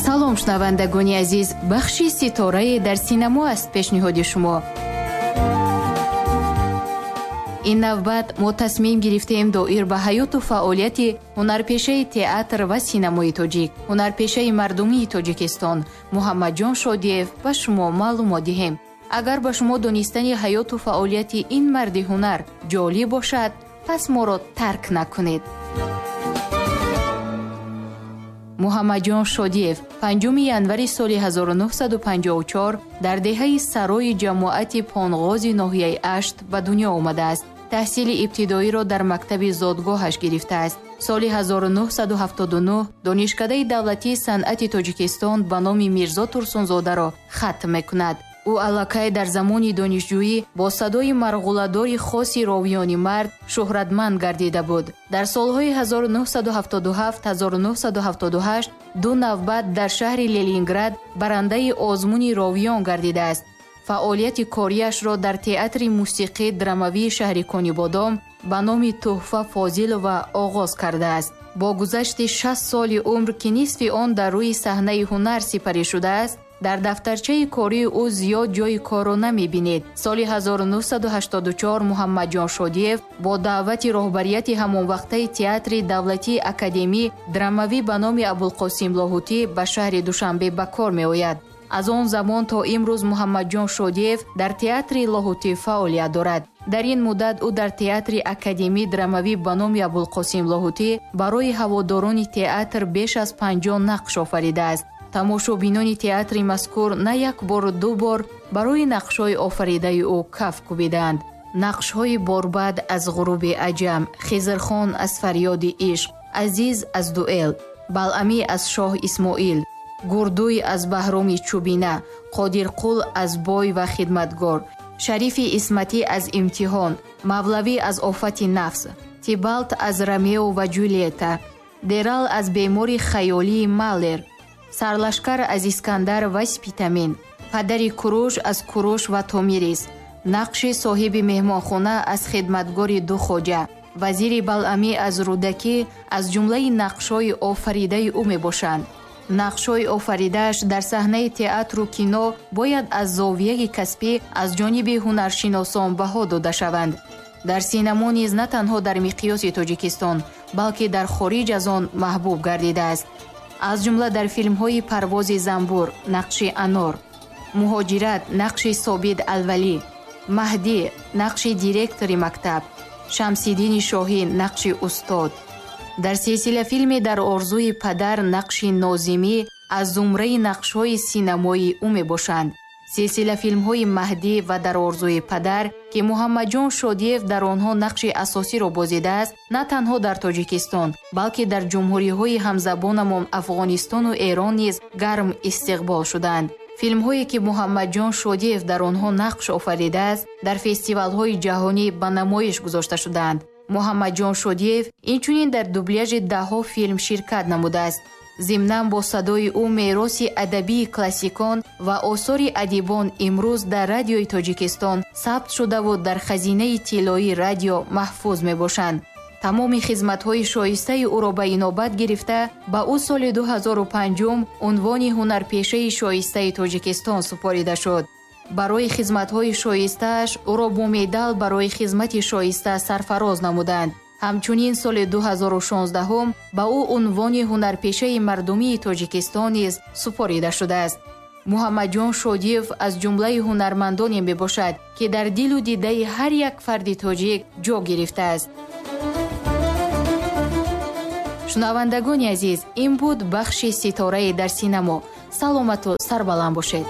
Салом, шунавандагони азиз, бахши ситорае дар синамо аст пешниҳоди шумо. Ин навбат мо тасмим гирифтем доир ба ҳаёту фаъолияти ҳунарпешаи театр ва синамои тоҷик, ҳунарпешаи мардумии Тоҷикистон Муҳаммадҷон Шодиев ба шумо маълумот диҳем. Агар ба шумо донистани ҳаёту фаъолияти ин марди ҳунар ҷолиб бошад, пас моро тарк накунед. Муҳаммадҷон Шодиев 5 январи соли 1954 дар деҳаи Сарои ҷамоати Понғози ноҳияи Ашт ба дунё омадааст. Таҳсили ибтидоиро дар мактаби зодгоҳаш гирифтааст. Соли 1979 Донишкадаи давлатии санъати Тоҷикистон ба номи Мирзо Турсунзодаро хатм мекунад. Ӯ аллакай дар замони донишҷӯӣ бо садои марғуладори хоси ровиёни мард шӯҳратманд гардида буд. Дар солҳои 1977-1978 ду навбат дар шаҳри Ленинград барандаи озмуни ровиён гардидааст. Фаъолияти кориашро дар театри мусиқӣ драмавии шаҳри Конибодом ба номи Тӯҳфа Фозилова оғоз кардааст. Бо гузашти 60 соли умр, ки нисфи он дар рӯи саҳнаи ҳунар сипарӣ шудааст, дар дафтарчаи кории ӯ зиёд ҷойи корро намебинед. Соли 1984 Муҳаммадҷон Шодиев бо даъвати роҳбарияти ҳамонвақтаи театри давлатии академӣ драмавӣ ба номи Абулқосим Лоҳутӣ ба шаҳри Душанбе ба кор меояд. Аз он замон то имрӯз Муҳаммадҷон Шодиев дар театри Лоҳутӣ фаъолият дорад. Дар ин муддат ӯ дар театри академӣ драмавӣ ба номи Абулқосим Лоҳутӣ барои ҳаводорони театр беш аз 50 нақш офаридааст. Тамошобинони театри мазкур на як бору ду бор барои нақшҳои офаридаи ӯ каф кӯбидаанд. Нақшҳои Борбад аз Ғуруби аҷам, Хизрхон аз Фарёди ишқ, Азиз аз Дуэл, Балъамӣ аз Шоҳ Исмоил, Гурдуй аз Баҳроми Чӯбина, Қодирқул аз Бой ва хидматгор, Шарифи Исматӣ аз Имтиҳон, Мавлавӣ аз Офати нафс, Тибалт аз Ромео ва Ҷулиета, Дерал аз Бемори хаёлии Малер, Сарлашкар аз Искандар ва Спитамен, падари Куруш аз Куруш ва Томирис, нақши соҳиби меҳмонхона аз Хидматгори ду хоҷа, вазири Балъамӣ аз Рӯдакӣ аз ҷумлаи нақшҳои офаридаи ӯ мебошанд. Нақшҳои офаридааш дар саҳнаи театру кино бояд аз зовияи касбӣ аз ҷониби ҳунаршиносон баҳо дода шаванд. Дар синамо низ на танҳо дар миқёси Тоҷикистон, балки дар хориҷ аз он маҳбуб гардидааст. Аз ҷумла дар филмҳои Парвози занбур, нақши Анор, Муҳоҷират, нақши Собид Алвалӣ, Маҳдӣ, нақши директори мактаб, Шамсиддини Шоҳин, нақши устод. Дар силсилафилми Дар орзуи падар нақши Нозимӣ аз зумраи нақшҳои синамоии ӯ мебошанд. Силсилафилмҳои Маҳдӣ ва Дар орзуи падар, ки Муҳаммадҷон Шодиев дар онҳо нақши асосиро бозидааст, на танҳо дар Тоҷикистон, балки дар ҷумҳуриҳои ҳамзабонамон Афғонистону Эрон низ гарм истиқбол шуданд. Филмҳое ки Муҳаммадҷон Шодиев дар онҳо нақш офаридааст, дар фестивалҳои ҷаҳонӣ ба намоиш гузошта шудаанд. Муҳаммадҷон Шодиев инчунин дар дубляжи даҳҳо филм ширкат намудааст. Зимнан бо садои ӯ мероси адабии классикон ва осори адибон имрӯз дар радиои Тоҷикистон сабт шудаву дар хазинаи тиллоии радио маҳфуз мебошанд. Тамоми хизматҳои шоистаи ӯро ба инобат гирифта, ба ӯ соли 2005 унвони ҳунарпешаи шоистаи Тоҷикистон супорида шуд. Барои хизматҳои шоистааш ӯро бо медал барои хизмати шоиста сарфароз намуданд. Ҳамчунин соли 2016 ба ӯ унвони ҳунарпешаи мардумии Тоҷикистон низ супорида шудааст. Муҳаммадҷон Шодиев аз ҷумлаи ҳунармандоне мебошад, ки дар дилу дидаи ҳар як фарди тоҷик ҷо гирифтааст. Шунавандагони азиз, ин буд бахши ситорае дар синамо. Саломату сарбаланд бошед.